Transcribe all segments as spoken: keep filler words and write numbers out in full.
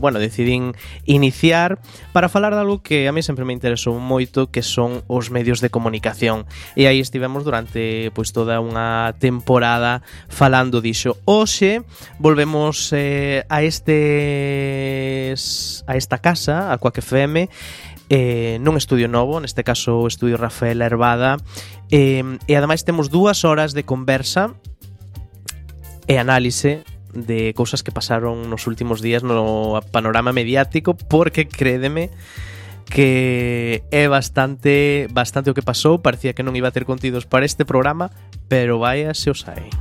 bueno, decidín iniciar para falar de algo que a mí sempre me interesou moito, que son os medios de comunicación. E aí estivemos durante pois toda unha temporada falando dixo. Hoxe volvemos eh, a estes a esta casa, a Quack F M, eh, nun estudio novo, neste caso o estudio Rafael Herbada, eh, e ademais temos dúas horas de conversa e análise de cousas que pasaron nos últimos días no panorama mediático, porque crédeme que é bastante bastante o que pasou. Parecía que non iba a ter contidos para este programa, pero vaya se os hai.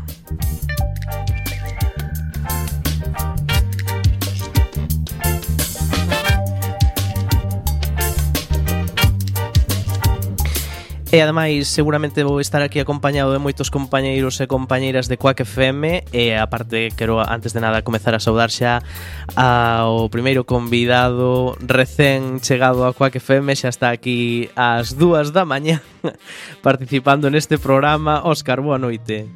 E ademais seguramente vou estar aquí acompañado de moitos compañeiros e compañeiras de Quack F M. E aparte quero antes de nada comezar a saudar xa ao primeiro convidado recén chegado a Quack F M. Xa está aquí ás dúas da mañá participando neste programa. Óscar, boa noite.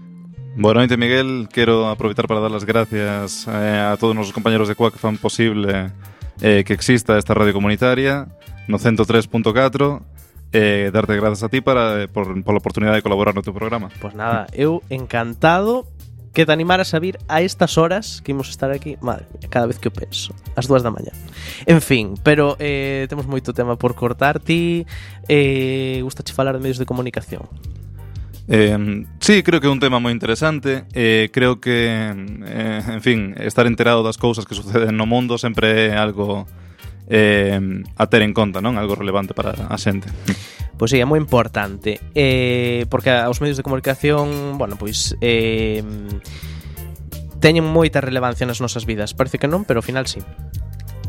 Boa noite, Miguel. Quero aproveitar para dar as gracias eh, a todos os compañeros de Quack que fan posible eh, que exista esta radio comunitaria no ciento tres punto catro. Eh, darte grazas a ti para, por, por la oportunidade de colaborar no teu programa. Pois nada, eu encantado que te animaras a vir a estas horas que imos estar aquí. Madre mía, cada vez que o penso, ás dúas da mañá. En fin, pero eh, temos moito tema por cortar. Ti eh, gustache falar de medios de comunicación? Eh, sí, creo que é un tema moi interesante. eh, Creo que, eh, en fin, estar enterado das cousas que suceden no mundo sempre é algo Eh, a ter en conta, non? Algo relevante para a xente. Pois sí, é moi importante, eh, porque os medios de comunicación, bueno, pois eh, teñen moita relevancia nas nosas vidas. Parece que non, pero ao final sí.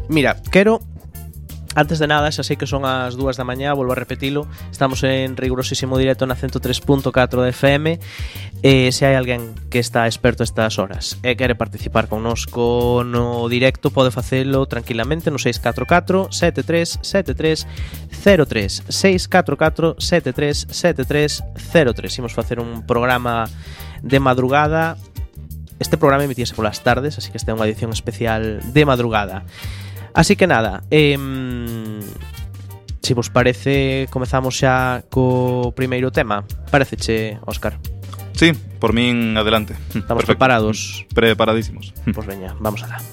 Mira, quero, antes de nada, xa sei que son as dúas da mañá, volvo a repetilo. Estamos en rigurosísimo directo na ciento tres punto catro de F M. E se hai alguén que está experto estas horas e quere participar connosco no directo, pode facelo tranquilamente no seis catro catro sete tres sete tres cero tres seis catro catro sete tres sete tres cero tres. Imos facer un programa de madrugada. Este programa emitíase polas tardes, así que esta é unha edición especial de madrugada. Así que nada, eh, se vos parece, comezamos xa co primeiro tema. Pareceche, Óscar? Sí, por min adelante. Estamos Perfecto. preparados? Preparadísimos. Pois veña, vamos alá.